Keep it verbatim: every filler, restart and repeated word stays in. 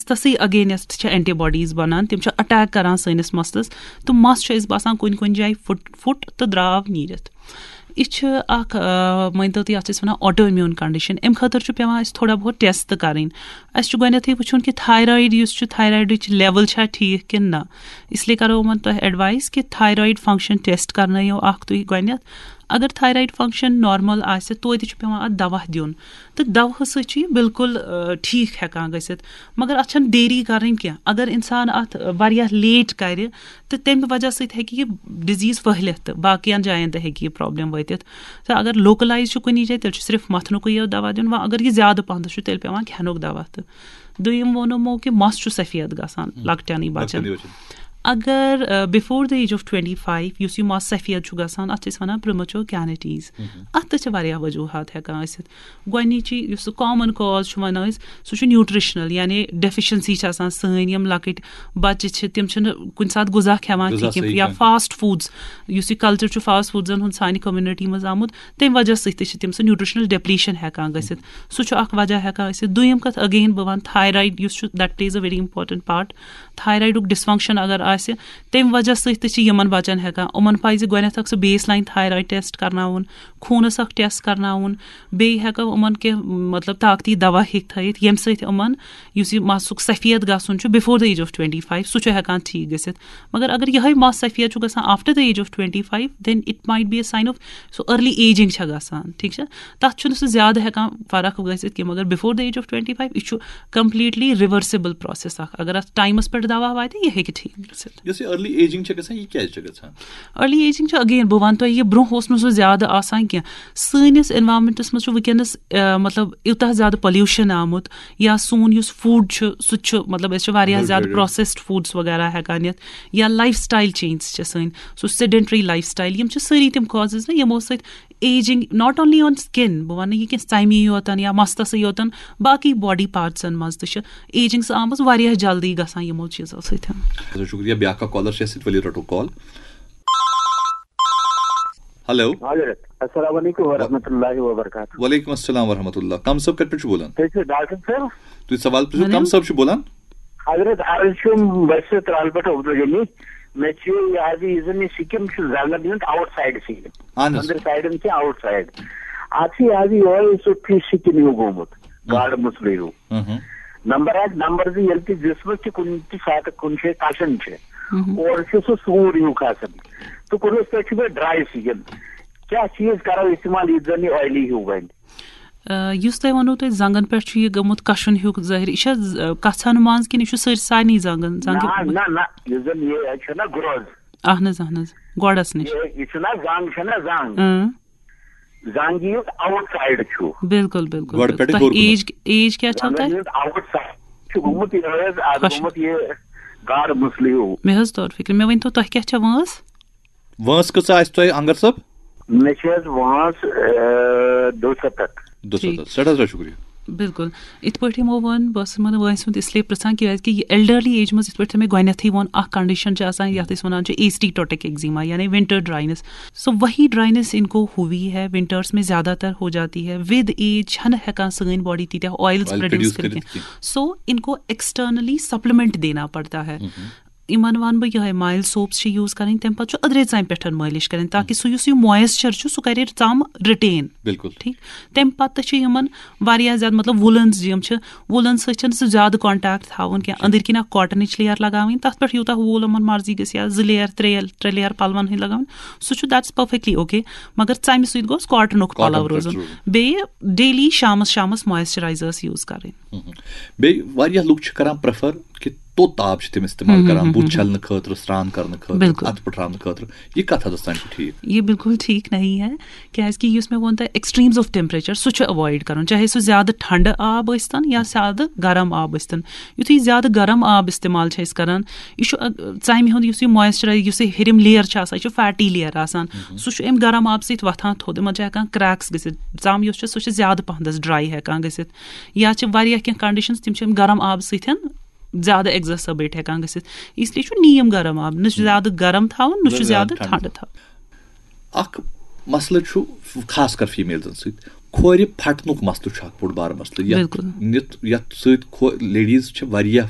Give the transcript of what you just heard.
تَسٕے against چھِ anti bodies بَنان، تِم چھِ اٹیک کَران سٲنِس مَستَس، تہٕ مَس چھُ اَسہِ باسان کُنہِ کُنہِ جایہِ پھُٹ پھُٹ تہٕ درٛاو نیٖرِتھ۔ یہِ چھِ اَکھ، آ، مٲنۍتو تُہۍ، اَتھ چھِ أسۍ وَنان آٹو امیوٗن کنڈیشن۔ اَمہِ خٲطرٕ چھُ پٮ۪وان اَسہِ تھوڑا بہت ٹیسٹ تہٕ کَرٕنۍ۔ اَسہِ چھُ گۄڈٕنٮ۪تھٕے وٕچھُن کہِ تھایرایِڈ یُس چھُ، تھایرایڈٕچ لیول چھا ٹھیٖک کِنہٕ نہ۔ اس لیے کَرو یِمَن تۄہہِ ایڈوایس کہِ تھایرایڈ فنکشن ٹیسٹ کَرنٲیِو اَکھ تُہۍ گۄڈٕنٮ۪تھ۔ اگر تھایرایڈ فنکشن نارمل آسہِ، توتہِ چھُ پٮ۪وان اَتھ دوا دیُن، تہٕ دوہہٕ سۭتۍ چھُ یہِ بالکل، آ، ٹھیٖک ہٮ۪کان گٔژھِتھ۔ مگر اَتھ چھَنہٕ دیری کَرٕنۍ کینٛہہ۔ اگر اِنسان اَتھ، آ، واریاہ لیٹ کَرِ، تہٕ تَمہِ وجہ سۭتۍ ہٮ۪کہِ یہِ ڈِزیٖز پھٔہلِتھ تہٕ باقیَن جایَن تہِ ہٮ۪کہِ یہِ پرابلم وٲتِتھ۔ تہٕ اگر لوکلایز چھُ کُنی جایہِ، تیٚلہِ چھُ صرف مَتھنُکُے یوت دوا دیُن۔ وۄنۍ اگر یہِ زیادٕ پَہنَس چھُ، تیٚلہِ پٮ۪وان کھٮ۪نُک دوا تہٕ۔ دوٚیِم ووٚنمو کہِ مَس چھُ سفید گژھان لۄکٹٮ۪نٕے بَچَن۔ لۄکٹٮ۪نٕے بَچَن۔ اگر، آ، before the age of twenty five یُس یہِ مَس سفید چھُ گژھان، اَتھ چھِ أسۍ وَنان پرٛمَچور کینیٹیٖز۔ اَتھ تہِ چھِ واریاہ وجوٗہات ہٮ۪کان ٲسِتھ۔ گۄڈٕنِچی یُس سُہ کامَن کاز چھُ وَنان أسۍ، سُہ چھُ نیوٗٹرِشنَل، یعنی ڈیفیشنسی چھِ آسان سٲنۍ۔ یِم لۄکٕٹۍ بَچہِ چھِ، تِم چھِنہٕ کُنہِ ساتہٕ غذا کھٮ۪وان غذا کِہیٖنۍ، صحیح یا کھٮ۪وان۔ فاسٹ فوڈز، یُس یہِ کلچر چھُ فاسٹ فوڈزَن ہُنٛد سانہِ کمیونٹی منٛز آمُت، تَمہِ وجہ سۭتۍ تہِ چھِ تٔمۍ سُنٛد نیوٗٹرِشنَل ڈیپلیشن ہٮ۪کان گٔژھِتھ۔ سُہ چھُ اَکھ وجہ ہٮ۪کان ٲسِتھ۔ دوٚیِم کَتھ، اگین بہٕ وَنہٕ تھایرایڈ یُس چھُ، that plays a very important part۔ تھایرایڈُک ڈِسفنکشن اگر آسہِ، تَمہِ وجہ سۭتۍ تہِ چھِ یِمَن بَچَن ہٮ۪کان، یِمَن پَزِ گۄڈٕنٮ۪تھ اَکھ سُہ بیس لاین تھایرایڈ ٹیسٹ کَرناوُن، خوٗنَس اَکھ ٹیسٹ کَرناوُن، بیٚیہِ ہٮ۪کو یِمَن کینٛہہ، مطلب، طاقتی دوا ہیٚکہِ تھٲیِتھ، ییٚمہِ سۭتۍ یِمَن یُس یہِ مَسُک سفید گژھُن چھُ before the age of twenty five، سُہ چھُ ہٮ۪کان ٹھیٖک گٔژھِتھ۔ مگر اگر یِہوٚے مَس سفید چھُ گژھان after the age of twenty five، then it might be a sign of سُہ early aging چھےٚ گژھان، ٹھیٖک چھا؟ تَتھ چھُنہٕ سُہ زیادٕ ہٮ۪کان فرق گٔژھِتھ کینٛہہ، مگر before the age of twenty five، یہِ چھُ completely reversible process اَکھ۔ اگر اَتھ ٹایمَس پٮ۪ٹھ دوا واتہِ، یہِ ہیٚکہِ ٹھیٖک گٔژھِتھ۔ یۄس یہِ early aging چھےٚ گژھان، یہِ کیٛازِ چھےٚ گژھان؟ ارلی ایجنگ چھِ، اگین بہٕ وَنہٕ تۄہہِ، یہِ برونٛہہ اوس نہٕ سُہ زیادٕ آسان کینٛہہ۔ سٲنِس انوائرمنٹس منٛز چھُ وٕنکیٚنَس، آ، مطلب، یوٗتاہ زیادٕ پولیوشن آمُت، یا سون یُس فوڈ چھُ، سُہ تہِ چھُ، مطلب، أسۍ چھِ واریاہ بِلکُل، زیادٕ بِلکُل۔ پروسیسڈ فوڈس وغیرہ ہٮ۪کان نِتھ، یا لایف سٹایل چینج چھِ سٲنۍ، سُہ سیڈنٹری لایف سٹایل، یِم چھِ سٲری تِم کازز نا، یِمو سۭتۍ ageing, not only on skin، بہٕ وَنہٕ یہِ کینٛہہ ژَمہِ یوتن یا مستَسٕے یوتن، باقٕے باڈی پارٹسن منٛز تہِ چھِ ایجنگ سۄ آمٕژ واریاہ جلدی گژھان یِمو چیٖزو سۭتۍ۔ شُکریہ۔ بیٛاکھ اکھ کالر چھِ اَسہِ سۭتۍ، ؤلِو رَٹو کال۔ ہیلو۔ حضرت، السلام علیکم ورحمۃ اللہ وبرکاتہ۔ وعلیکم السلام ورحمۃ اللہ۔ کم صٲب کَتہِ پٮ۪ٹھ چھُ بولان؟ تُہۍ چھِو ڈاکٹر صٲب؟ تُہۍ سوال پرٛژھِو، کم ؤنِو۔ صٲب چھُ بولان؟ حضرت، عرض چھُم، بہٕ چھُس ترٛال پٮ۪ٹھ عبدالغنی۔ مےٚ چھُ یہِ حظ، یہِ زَن یہِ سِکِن چھُ زنٛگَن ہُنٛد آوُٹ سایڈ سِکِن۔ اَہَن حظ۔ أنٛدرٕ سایڈَن چھِ آوُٹ سایڈ۔ اَتھ چھِ یہِ حظ یِہوٚے سُہ فِش سِکِن ہیوٗ گوٚمُت، ہُم۔ گاڈٕ مُسلہٕ ہیوٗ۔ ہُم۔ نمبر اکھ، نمبر زٕ، ییٚلہِ تہِ جسمس تہِ کُنہِ تہِ ساتہٕ کُنہِ جایہِ کشان چھِ، ہُم۔ اورٕ چھُ سُہ سوٗر ہیوٗ کھسان، تہٕ کُنُس پٮ۪ٹھ چھُ مےٚ ڈراے سِکِن۔ کیٛاہ چیٖز کرو استعمال یُتھ زن یہِ oily ہیوٗ بنہِ؟ آ، یُس تۄہہِ ووٚنوُ، تۄہہِ زنٛگن پٮ۪ٹھ چھُ یہِ گوٚمُت کشُن ہیوٗ ظٲہِر، یہِ چھا ز-، کژھن منٛز کِنہٕ یہِ چھُ سٲرۍ، سارنٕے زنٛگن، زنٛگہِ؟ نہ، نہ، نہ، یُس زن یہِ چھُنہ گروز۔ اہن حظ، اہن حظ، گۄڈس نِش۔ یہِ، یہِ چھُنہ زنٛگ، چھنہ زنٛگ۔ اۭں۔ زنٛگ یُس آوُٹ سایڈ چھُ۔ بِلکُل، بِلکُل، گۄڈٕ بِلکُل۔ پٮ۪ٹھٕ تۄہہِ ہیوٚر کُن۔ ایج، ایج کیٛاہ چھو زنٛگن تۄہہِ؟ ہُنٛد آوُٹ سایڈ چھُ گوٚمُت، یہِ حظ، از خۄش۔ گوٚمُت یہِ گاڈٕ مُسلہٕ ہیوٗ۔ مےٚ حظ توٚر فِکرِ۔ مےٚ ؤنۍ تو، تۄہہِ کیٛاہ چھےٚ وٲنٛس؟ وٲنٛس کۭژاہ آسہِ تۄہہِ، انگر صٲب؟ مےٚ چھِ حظ وٲنٛس، آ، دُسَتتھ۔ دُسَتتھ۔ ٹھیٖک۔ سٮ۪ٹھاہ سٮ۪ٹھاہ شُکریہ۔ بِلکُل۔ یِتھ پٲٹھۍ یِمو ووٚن، بہٕ ٲسٕس یِمَن وٲنٛسہِ ہُنٛد اِسلیے پِرٛژھان، کیٛازِکہِ یہِ elderly ایج منٛز، یِتھ پٲٹھۍ مےٚ گۄڈٕنٮ۪تھٕے ووٚن، اَکھ condition چھِ آسان، یَتھ أسۍ وَنان چھِ acetotic eczema، یعنی winter dryness۔ So وہی dryness ان کو ہوئی ہے، ونٹرس میں زیادہ تر ہو جاتی ہے۔ With age چھَنہٕ ہٮ۪کان سٲنۍ باڈی تیٖتیٛاہ آیلز آیل پروڈیوس پروڈیوس کٔرِتھ کٔرِتھ کینٛہہ۔ کینٛہہ۔ So ان کو ایکسٹرنلی سپلمنٹ دینا پڑتا ہے۔ ہُم۔ یِمن وَنہٕ بہٕ یِہوٚے، مایِلڈ سوپس چھِ یوٗز کَرٕنۍ، تَمہِ پَتہٕ چھُ أدرَے ژَمہِ پٮ۪ٹھ مٲلِش کَرٕنۍ، تاکہِ سُہ یُس یہِ مویسچر چھُ، سُہ کَرِ ژَم رِٹین۔ بِلکُل۔ ٹھیٖک۔ تَمہِ پَتہٕ تہِ چھِ یِمن واریاہ زیادٕ، مطلب، وُلنز یِم چھِ، وُلن سۭتۍ چھَنہٕ سُہ زیادٕ کانٹیکٹ تھاوُن کینٛہہ۔ أنٛدٕرۍ کِنۍ اَکھ کاٹنٕچ لیئر لَگاوٕنۍ، تَتھ پٮ۪ٹھ یوٗتاہ ووٗل یِمن مرضی گژھِ، یا زٕ لیئر، ترٛےٚ، ترٛےٚ لیئر پَلون ہٕنٛدۍ لَگاوٕنۍ، سُہ چھُ، that's perfectly okay۔ مگر ژَمہِ سۭتۍ گوٚژھ کاٹنُک پَلو کاٹن پٮ۪ٹھ روزُن۔ روزُن۔ بیٚیہِ ڈیلی شامَس، شامَس مویسچرائزرس یوٗز کَرٕنۍ۔ ہُم۔ بیٚیہِ واریاہ لُکھ چھِ کران پریفر کہِ توٚت آب چھِ تِم استعمال ہُم، ہُم، کران، ہُم، بُتھ ہُم، ہُم۔ چھلنہٕ خٲطرٕ، سرٛان کرنہٕ خٲطرٕ، بِلکُل۔ اَتھٕ پٔٹھراونہٕ خٲطرٕ۔ یہِ کَتھ حدس تام چھُ ٹھیٖک؟ یہ بالکل ٹھیٖک نہیں ہے، کیٛازِکہِ یُس مےٚ ووٚن تۄہہِ، ایکسٹریمز آف ٹیمپریچر، سُہ چھُ اوائڈ کرُن، چاہے سُہ زیادٕ ٹھنڈٕ آب ٲسۍتن یا زیادٕ گرم آب ٲسۍتن۔ یُتھُے زیادٕ گرم آب استعمال چھِ أسۍ کران، یہِ چھُ، ا، ژَمہِ ہُنٛد یُس یہِ مویسچرائز، یُس یہِ ہیٚرِم لیئر چھِ آسان، یہِ چھُ فیٹی لیئر آسان، ہُم۔ سُہ چھُ اَمہِ گرم آبہٕ سۭتۍ وۄتھان تھوٚد، یِمن چھِ ہٮ۪کان کریکس گٔژھِتھ۔ ژَم یۄس چھِ، سۄ چھِ زیادٕ پہنس ڈراے ہٮ۪کان گٔژھِتھ۔ یا چھِ واریاہ کینٛہہ کنڈیشنز، تِم چھِ اَمہِ گرم آبہٕ سۭتۍ زیادٕ ایگزاسربیٹ ہٮ۪کان گٔژھِتھ۔ اس لیے چھُ نیم گرم آب، نہ چھُ ہُم۔ زیادٕ گرم تھاوُن، نہ نہ چھُ زیادٕ زیادٕ ٹھنڈٕ۔ ٹھنڈٕ تھاوُن۔ اکھ مسلہٕ چھُ خاص کر فیمیلزن سۭتۍ، کھورِ پھٹنُک مسلہٕ چھُ اکھ بوٚڑ بار مسلہٕ۔ یتھ بِلکُل۔ نِتھ، یتھ سۭتۍ کھو-، لیڈیز چھِ واریاہ